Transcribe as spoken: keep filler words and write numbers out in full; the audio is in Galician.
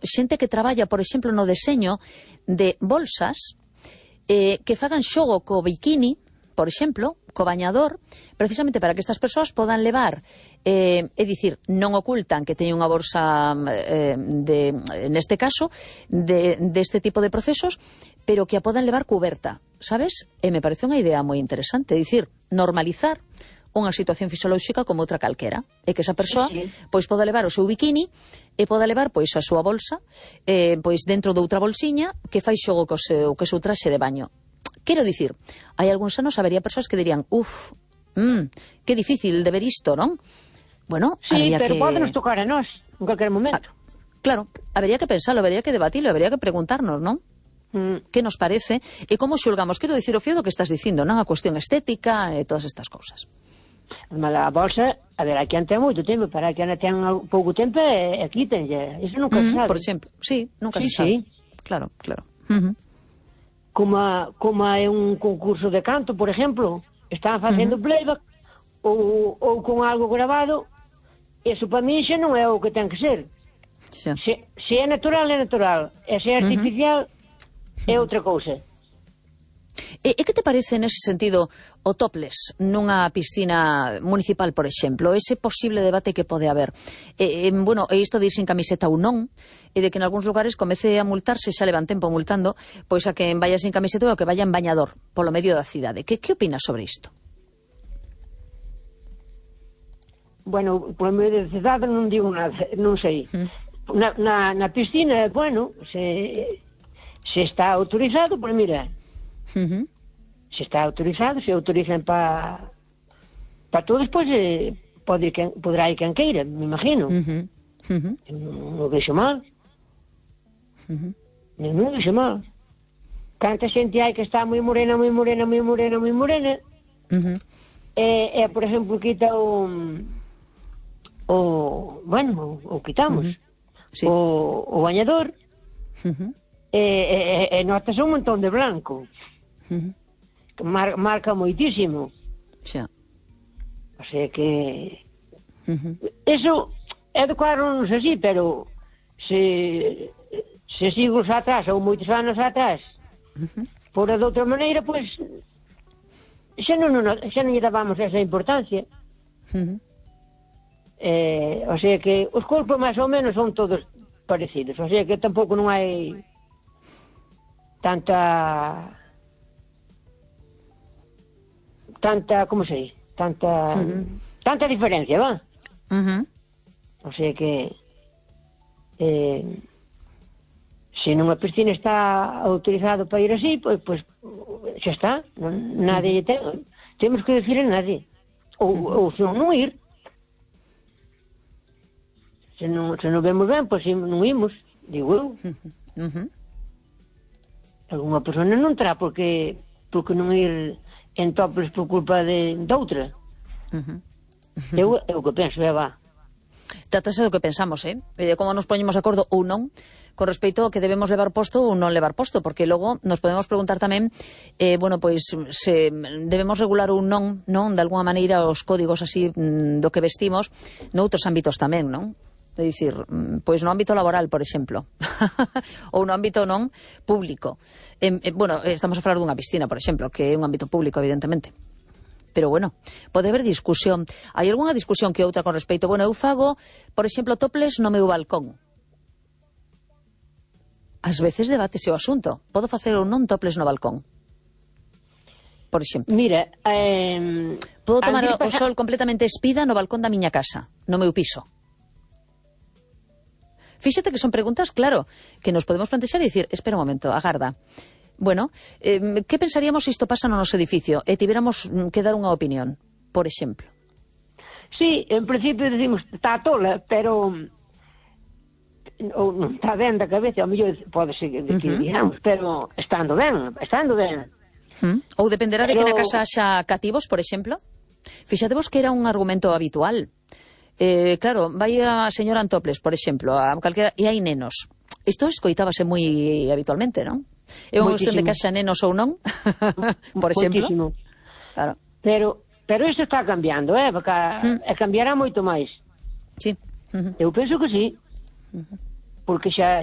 xente que traballa, por exemplo, no deseño de bolsas eh, que fagan xogo co bikini, por exemplo, co bañador, precisamente para que estas persoas podan levar, eh, é dicir, non ocultan que teñen unha bolsa eh, de, neste caso, de, de este tipo de procesos, pero que a podan levar cuberta, sabes? E me parece unha idea moi interesante, é dicir, normalizar unha situación fisiolóxica como outra calquera, e que esa persoa sí, sí. pois poda levar o seu bikini e poda levar pois a súa bolsa eh, pois dentro de outra bolsiña que fai xogo co seu, co seu traxe de baño. Quero dicir, hai algúns anos habería persoas que dirían, uff, mmm, que difícil de ver isto, non? Bueno, sí, habría pero que... podenos tocar a nós en cualquier momento. Ah, claro, habería que pensarlo, habería que debatirlo, habería que preguntarnos, non? Mm. Que nos parece e como xulgamos, quero dicir o fío do que estás dicindo, non? A cuestión estética e todas estas cousas. Mas a bolsa, a ver, aquí ten moito tempo, para que anda ten pouco tempo e, e quítenlle, iso nunca mm, se sabe. Por exemplo, sí, nunca sí, se sabe. Sí. Claro, claro. Uh -huh. Como, a, como é un concurso de canto, por exemplo, están facendo uh -huh. playback ou, ou con algo grabado, eso para mí xa non é o que ten que ser. Xa. Se, se é natural, é natural, e se é artificial, uh -huh. é outra cousa. E, e que te parece nese sentido o topless nunha piscina municipal, por exemplo? Ese posible debate que pode haber. E, e, bueno, e isto de ir sin camiseta ou non, e de que en algúns lugares comece a multarse, xa levan tempo multando, pois a que vaya sin camiseta ou a que vaya en bañador polo medio da cidade. Que, que opinas sobre isto? Bueno, polo medio da cidade non digo nada, non sei. Mm. Na, na, na piscina, bueno, se, se está autorizado, pois mira... Uh -huh. Se está autorizado, se autorizan para para todos, pois eh, pode ir quen, podrá ir quen queira, me imagino. Uh -huh. Uh -huh. Non o vexo mal. Uh -huh. Non, non o vexo mal. Canta xente hai que está moi morena, moi morena, moi morena, moi morena. Uh -huh. E, e, por exemplo, quita o o, bueno, o, o quitamos. Uh -huh. Sí. O, o bañador. Uh -huh. E, e, e notas un montón de blanco. Uh-huh. Que mar, marca moitísimo. Xa. O sea que uh-huh. eso é de cuadro, non sei si, pero se se siglos atrás ou moitos anos atrás uh-huh. fora de outra maneira, pois xa non, non, xa non lle dábamos esa importancia. Uh-huh. eh, o sea que os corpos máis ou menos son todos parecidos, o sea que tampouco non hai tanta tanta, como sei, tanta uh -huh. tanta diferencia, va? Uh -huh. O sea que eh, se nunha piscina está autorizado para ir así, pois pues, pues, xa está, non, nadie uh -huh. ten, temos que decir a nadie ou, uh -huh. ou se non, non ir, se non, se non vemos ben, pois pues, non imos, digo eu. Uh -huh. Alguna persona non terá porque porque non ir en toples por culpa de, de outra. Uh -huh. eu, eu que penso, é va. Trátase do que pensamos, eh? E de como nos poñemos de acordo ou non con respecto ao que debemos levar posto ou non levar posto, porque logo nos podemos preguntar tamén eh, bueno, pois se debemos regular ou non, non, de alguna maneira os códigos así do que vestimos noutros ámbitos tamén, non? É dicir, pois no ámbito laboral, por exemplo, ou no ámbito non público. Eh, eh, bueno, estamos a falar dunha piscina, por exemplo, que é un ámbito público, evidentemente. Pero bueno, pode haber discusión. Hai algunha discusión que outra con respecto? Bueno, eu fago, por exemplo, topless no meu balcón. Ás veces debatese o asunto. Podo facer ou non topless no balcón? Por exemplo. Mira, eh, podo tomar o, o sol completamente espida no balcón da miña casa, no meu piso. Fíxate que son preguntas, claro, que nos podemos plantexar e dicir, espera un momento, agarda. Bueno, eh, que pensaríamos se isto pasa no noso edificio e tiveramos que dar unha opinión, por exemplo? Sí, en principio decimos, está tola, pero ou non está ben da cabeza, ao mellor pode ser que, uh -huh. digamos, pero estando ben, estando ben. Uh -huh. Ou dependerá pero... de que na casa haxa cativos, por exemplo? Fíxatevos que era un argumento habitual. Eh, claro, vai a señora Antoples, por exemplo, a calquera, e hai nenos. Isto escoitábase moi habitualmente, non? É unha cuestión de que haxa nenos ou non, por exemplo. Moitísimo. Claro. Pero, pero isto está cambiando, eh? Porque mm. e cambiará moito máis. Sí. Uh -huh. Eu penso que sí. Uh -huh. Porque xa